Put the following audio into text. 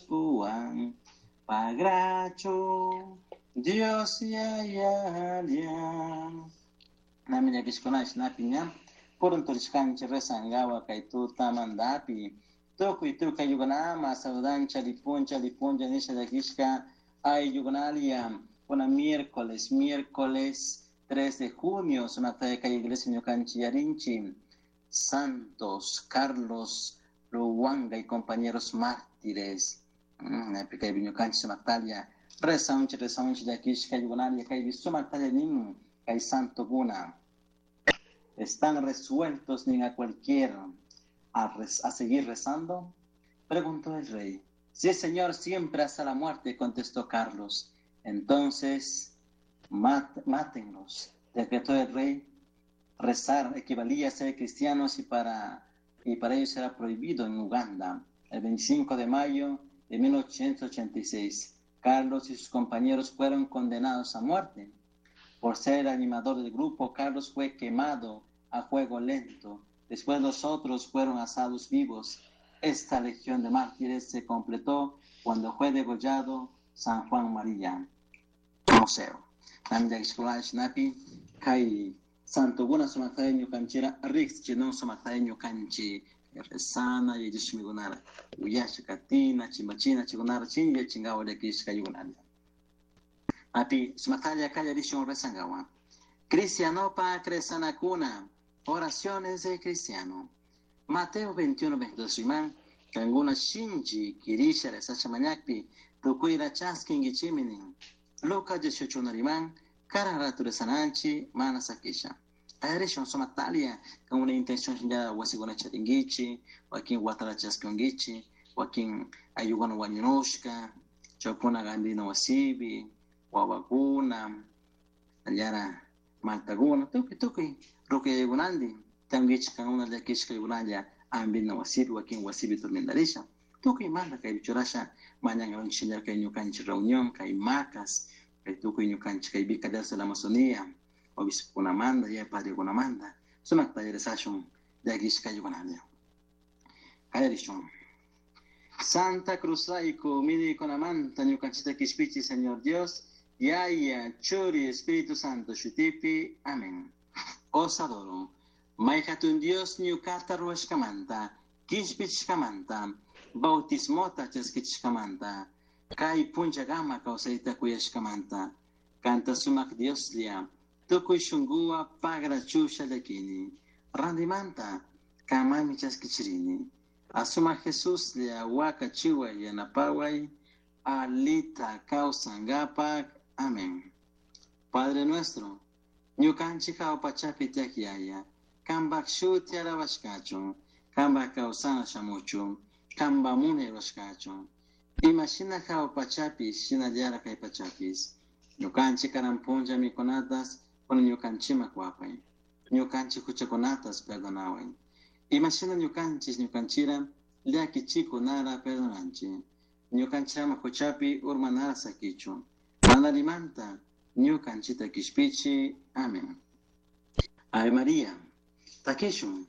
Kuwan pagrachu Dios yayalia. Nami llakishkunash napi ña purunturishkanchik rezangawa kay tutamantapi tukuy tukuy ayllukunama saludancha lipuncha lipuncha nisha llakishka ayllukunalia kuna miércoles miércoles 3 de junio sumakta kay iglesia ñukanchik yarinchi Santos Carlos Luwanga y compañeros mártires. Napi kaypi ñukanchik sumaktalla rezaunchik rezaunchik llakishka ayllukunalia kaypi sumaktalla nin kay santokuna están resueltos ni a cualquier a seguir rezando? Preguntó el rey. Sí, señor, siempre hasta la muerte, contestó Carlos. Entonces, mátenlos, decretó el rey. Rezar equivalía a ser cristianos y para ellos era prohibido en Uganda. El 25 de mayo de 1886, Carlos y sus compañeros fueron condenados a muerte. Por ser el animador del grupo, Carlos fue quemado a fuego lento. Después los otros fueron asados vivos. Esta legión de mártires se completó cuando fue degollado San Juan María Museo. Napi kay santokuna sumaktalla ñukanchira riqsichinon sumaktalla ñukanchik rezana yachashmikunara uyasha katina chimbachina chikunara chinlla chingawa llakishka ayukunalla. Api sumaktalla kallarishun rezangawa. Cristianopa rezanakuna, oraciones de cristiano. Mateo 21, 22 riman, kankuna shinchi kirisha rezasha mañakpi, tukuyra chaskinkichimi nin. Lucas 18 riman, karan ratu rezananchi, mana sakisha. Kallarishun sumaktalia, con una intención ya wasikuna charinkichi, wakin watara chaskinkichi, wakin ayllukuna wañunushka, chaykuna gandina wasipi, wawakuna, allara maltakuna, tukuy tukuy rukuyakunantin, tankichik kankuna llakishka ayukunalla ambina wasipi, wakin wasipi tormendarisha. Tukuy manta kaypi churasha mañankawanchik kay ñukanchik reunión, kay macas, kay tukuy ñukanchik kay Vicariato de la Amazonía, obispokunamanta, ya padrekunamanta, sumakta rezashun llakishka ayukunalla. Kallarishun. Santa Cruzrayku, millaykunamanta ñukanchikta kishpichi, Señor Dios, Yaya, Churi, Espíritu Santo, Shutipi, Amén. Os adoro. May hatun Dios ñukata ruwashkamanta, kishpichishkamanta, bautismota chaskichishkamanta, kay punllakama kawsayta kuyashkamanta, kanta sumak Dioslla, tukuy shunkuwan pagrachusha llakini, randimanta kamami chaskichirini. Asumak Jesuslla wakachiway yanapaway, alita kawsangapak. Amén. Padre nuestro, ñukanchik jahua pachapi tiyak Yaya, kampak shuti alabashka kachun, kampak kawsana shamuchun, kampak munay rurashka kachun. Ima shina jahua pachapi, shinallara kay pachapish. Ñukanchik karan punlla mikunatas, kunan ñukanchikman kuwapay. Ñukanchik huchakunatas perdonaway. Ima shina ñukanchik ñukanchira llakichikunara perdonanchik. Ñukanchik ama huchapi urmanara sakichun. Mana allimanta ñukanchikta kishpichi. Amén. Ave María. Takishun.